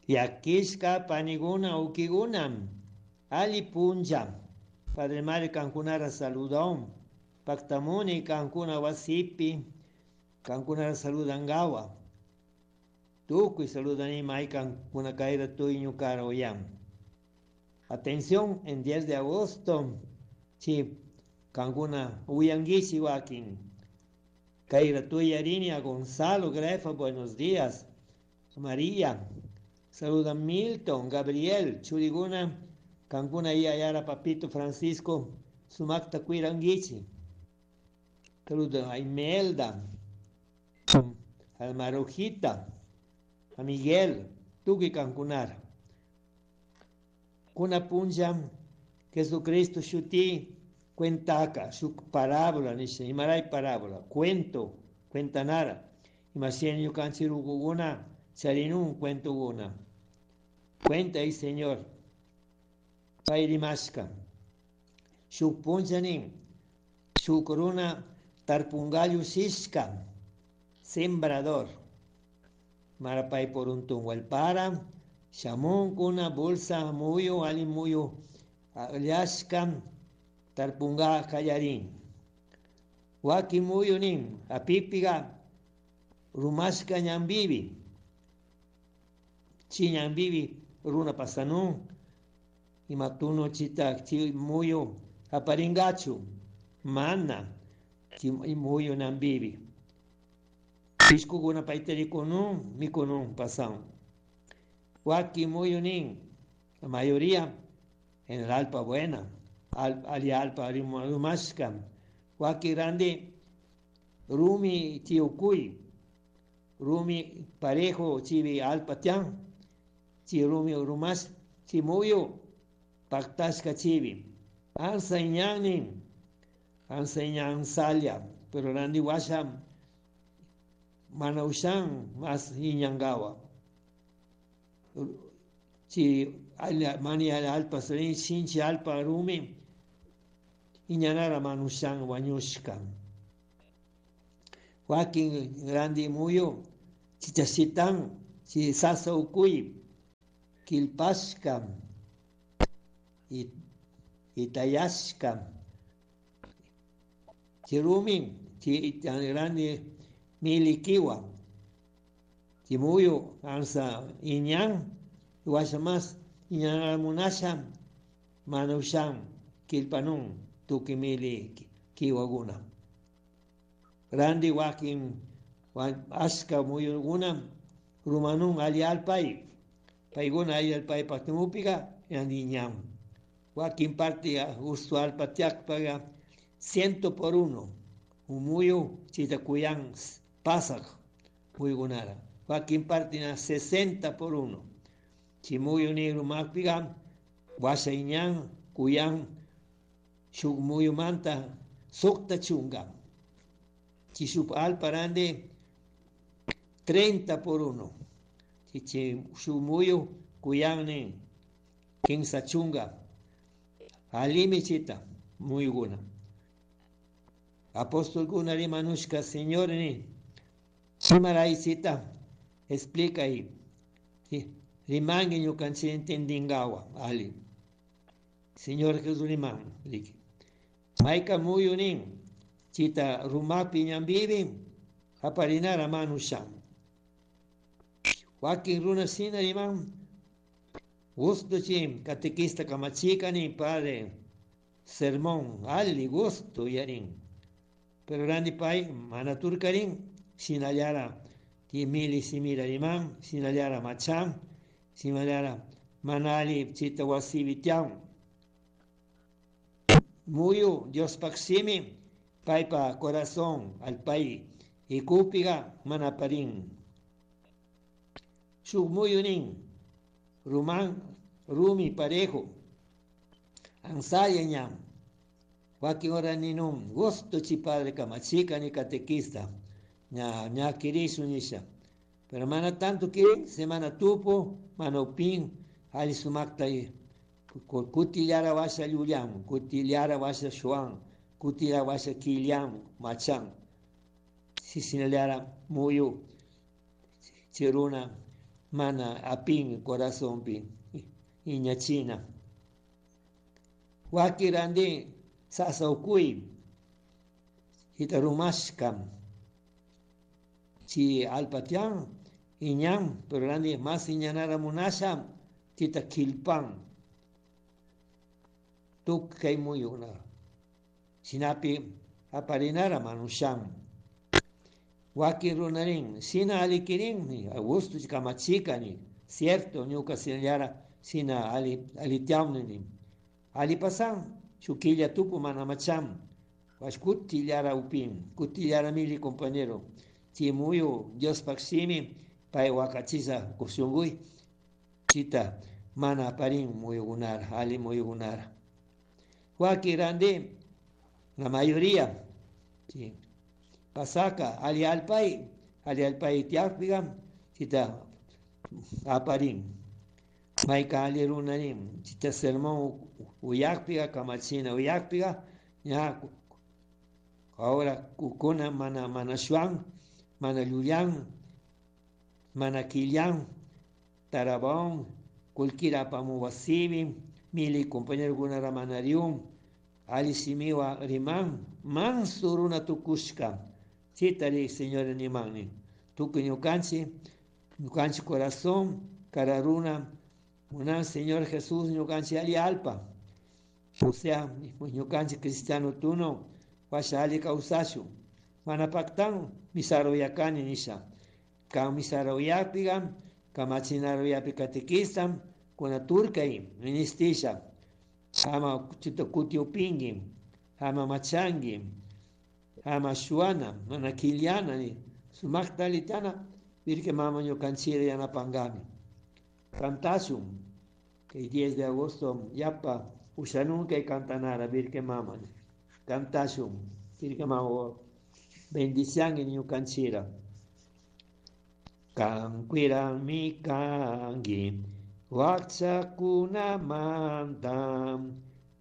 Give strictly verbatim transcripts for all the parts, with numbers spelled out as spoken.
Llaquishka paniguna ukiguna ali punlla. Padre Mario kankunara saludaun. Paktamuni kankuna wasipi kankunara saludangawa. Tukuy saludani may kankuna kayra tuy ñukara uyan. Atención, en diez de agosto, chi kankuna uyanguichi wakin. Kayra tuy a Gonzalo Grefa, buenos días. María, saluda Milton, Gabriel, Churiguna, kankuna yayara Papito Francisco, sumakta cuiranguichi. Saluda a Imelda, a Marujita, a Miguel, tuki kankunara. Kuna punlla, Jesucristo shuti cuentaca, su parábola, nisha, imaray parábola, cuento, cuentanara. Imashina ñukanchik rukukuna, charinun cuentokuna. Cuenta ahí, Señor. Pay rimashka. Shuk punlla nin, shuk runa tarpungallu shishka, sembrador. Marapay por un para, shamunkuna bolsa muyu, ali muyu, llashka, tarpunga kallarin. Waki muyu nin, apipiga, rumashka ñambibi. Chi ñambibi, runa pasanun, imatuno chita chi muyu, aparingachu, mana, chi muyu nambibi. Pishkukuna paytarikunun, mikunun pasan. Waki muyu nin, la mayoría en el alpa buena, al, ali alpa rumashka. Waki grande, rumi chiukuy, rumi parejo chivi alpa tian, chi rumi rumash, chi muyu, paktashka chivi. Ansa iñanin, ansa iñan salia, pero randi washa, mana ushan mas iñangawa. Chi mani alpa sarin, shinchi alpa rumi, iñanara manushan wañushka. Wakin grande muyu, chichashitan, chi sasa ukuy, kilpashka, itayashka. Chi rumi, chi grande milikiwa. Chi muyu, ansa iñan, washa mas, iñanara munasha, manushan, kilpanun, tukimili kiwaguna. Grande wakin, ashka muyuguna, rumanun ali alpay, payguna ali alpay paktimupiga, iñan. Wakin parte gusto alpa tiakpaga, ciento por uno. Umuyu chitakuyan pasak muyugunara. Wakin parte na sesenta por uno. Chimuyu ni rumakpiga, washa iñan, kuyan, shuk muyumanta, sukta chunga. Chishup alparande, treinta por uno. Chichi shumuyu kuyan ni, kinsa chunga. Alimi chita, muyuguna. Apóstol guna rimanushka, Señor ni, chimaraisita, explica ahí. Rimangi ñukanchik entendingawa, ali. Señor Jesús riman, liki. Maika muyunin, chita rumapi ñambibi, aparinara manushan. Wakin runa sina riman, gusto chim, catequista kamachika ni padre, sermón, ali gusto yarin. Pero randi pay, manaturkarin, sinallara, timili simira riman, sinallara machan, sinallara manali chita wasibitian. Muyu, Dios paximi, paypa corazón, al pay, ikupiga manaparin. Shuk muyunin, rumán, rumi parejo, ansaya ñam. Wakin ora ninun, gusto chi padre kamachika ni catequista, ña, ña kirisu nisha. Pero mana tanto que semana tupo, mana upin, ali sumakta y kutillara washa lluyan, kutillara washa shuan, kutillara washa quillan, machan. Si sinalara muyu, chiruna, mana apin corazonpi iñachina. Waki randi sasa ukui hitarumashka chi alpatian iñan, pero randi más iñanara munasha tita kilpan tukkay muyuna sinapi aparinara manushan. Waki runarin sina alikirin Augusto kamachikani cierto ñuka sinallara sina ali alitiamni ali pasan chukilla tupu manamacham waskutillara upin kutillara mili compañero chimuyu Dios paksimi pay wakachisa kushunguy chita mana parin muyugunara ali muyugunara. Waki randi la mayoría sí, pasaka ali alpay ali alpay tiakpiga chita aparin mayka ali runarin chita sermón uyakpiga kamachina uyakpiga ña ahora kukuna mana mana shuan mana lluyan mana quillan tarabón kulkira pamuwasibi mili compañero gunara manarium ali simiwa riman manso runa tukushka chitari señor nimani tukuy ñukanchi ñukanchi corazón kararuna munan Señor Jesús ñukanchi ali alpa o sea ñukanchi cristiano tuno washa ali kawsashu mana paktan misaruyakani nisha kan misaruyapiga kamachinaruyapi catequista kuna turkay ministisha ama chita kutiupingi ama machangi ama shuana mana kiliana ni sumakta litana virke mama ñukanchira yanapangami cantashun que diez de agosto yapa ushanunka y cantanara virke mama cantashun virke mama bendición en ñukanchira kankuirami kangi wakchakunamanta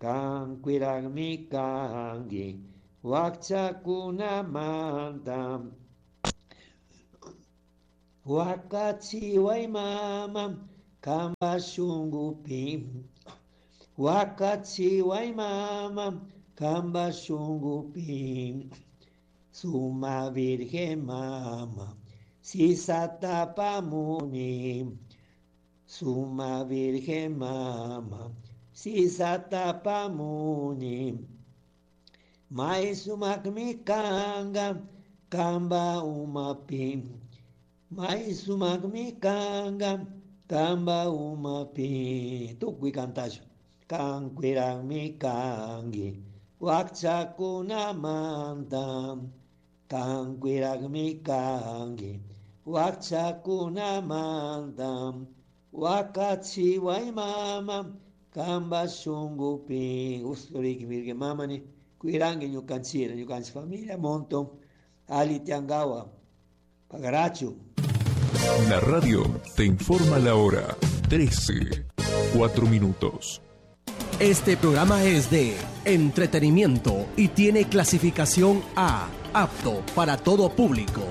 kankuirami kangi wakchakunamanta wakachiway mama kamba shungupi wakachiway mama kamba shungupi suma virgen mama sisatapamuni suma virgen mama sisatapamuni mai sumakmi kanga kamba umapi mai sumakmi kanga kamba umapi tukuy kantashu kankuirami kangi wakchakunamanta kankuirami kangi wakchakunamanta wakachiway mama kamba shungupi usturiki virgen mamani kuirangi ñukanchira ñukanchi familia montón ali tiangawa pagarachu. La radio te informa la hora trece, cuatro minutos. Este programa es de entretenimiento y tiene clasificación A, apto para todo público.